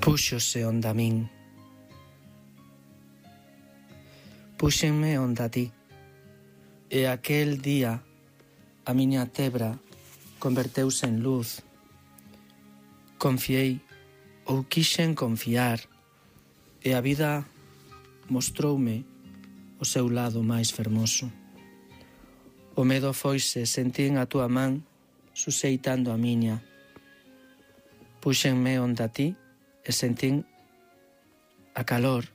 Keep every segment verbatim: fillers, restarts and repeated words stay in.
Púxose onda a min. Púxenme onda a ti. E aquel día a miña tebra converteuse en luz. Confiei ou quixen confiar e a vida mostroume o seu lado máis fermoso. O medo foise, sentín a túa man suseitando a miña. Púxenme onda a ti e sentín a calor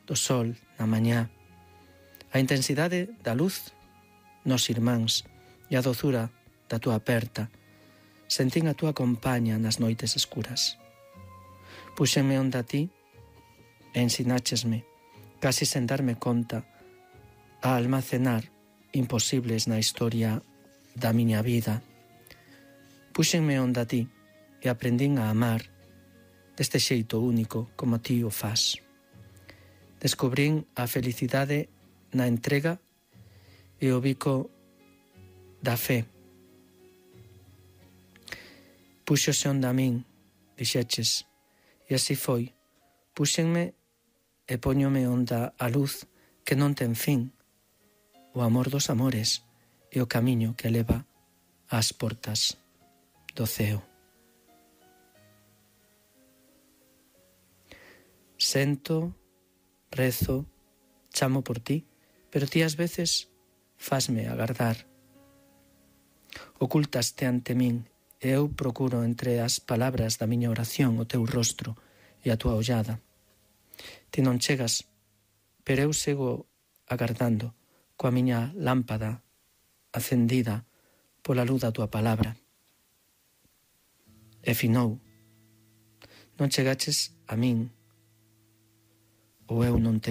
do sol na mañá, a intensidade da luz nos irmáns e a dozura da túa aperta. Sentín a túa compaña nas noites escuras. Púxenme onda a ti e ensináchesme, casi sen darme conta, a almacenar imposibles na historia da miña vida. Púxenme onda a ti e aprendín a amar deste xeito único como ti o fas. Descubrín a felicidade na entrega e o bico da fe. Púxose onda a min, dixeches, e así foi. Púxenme e póñome onda a luz que non ten fin, o amor dos amores e o camiño que leva ás portas do ceo. Sento, rezo, chamo por ti, pero ti ás veces fasme agardar. Ocultaste ante min e eu procuro entre as palabras da miña oración o teu rostro e a tua ollada. Ti non chegas, pero eu sigo agardando coa miña lámpada acendida pola luz da tua palabra. E finou. Non chegaches a min, ou eu non te